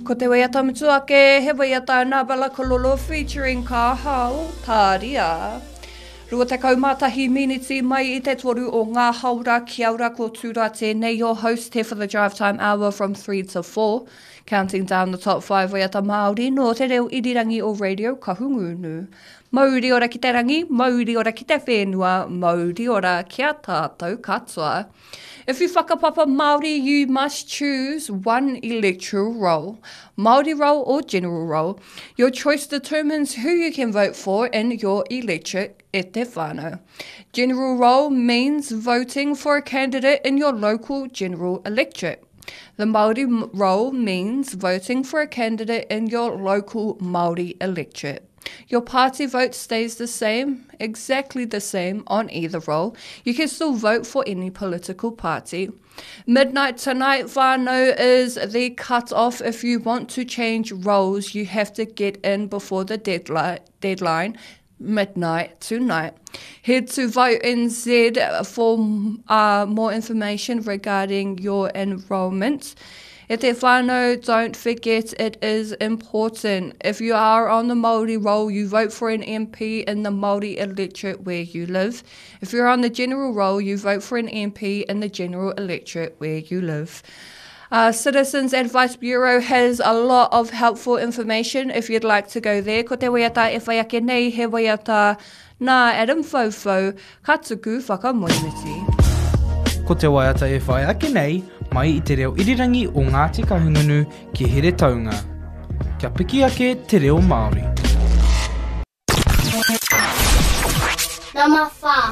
Ko te waiata mutu ake, he waiata nā Bella Kalolo featuring Ka Hao, Tāria. 21 miniti mai i te toru o ngā haora, kia ora ko Tūra tēnei, your host here for the drive time hour from 3 to 4. Counting down the top 5 waiata Māori nō te reo irirangi o Radio Kahungunu. Mauri ora ki te rangi, mauri ora ki te whenua, mauri ora ki a tātou katoa. If you whakapapa Māori, you must choose one electoral roll, Māori roll or general roll. Your choice determines who you can vote for in your electorate e te whānau. General roll means voting for a candidate in your local general electorate. The Māori roll means voting for a candidate in your local Māori electorate. Your party vote stays the same, exactly the same on either roll. You can still vote for any political party. Midnight tonight, whānau, is the cut-off. If you want to change roles, you have to get in before the deadline. deadline midnight tonight. Head to Vote NZ for uh, more information regarding your enrolment. E te whānau, don't forget it is important. If you are on the Māori roll, you vote for an MP in the Māori electorate where you live. If you're on the general roll, you vote for an MP in the general electorate where you live. Uh, Citizens Advice Bureau has a lot of helpful information if you'd like to go there. Ko te waiata e whai ake nei, he waiata nā Adam Foufou, ka tuku whakamoemiti. Ko te waiata e whai ake nei, mai i te reo irirangi o Ngāti Kahungunu ki Heretaunga. Kia piki ake te reo Māori. Number 4.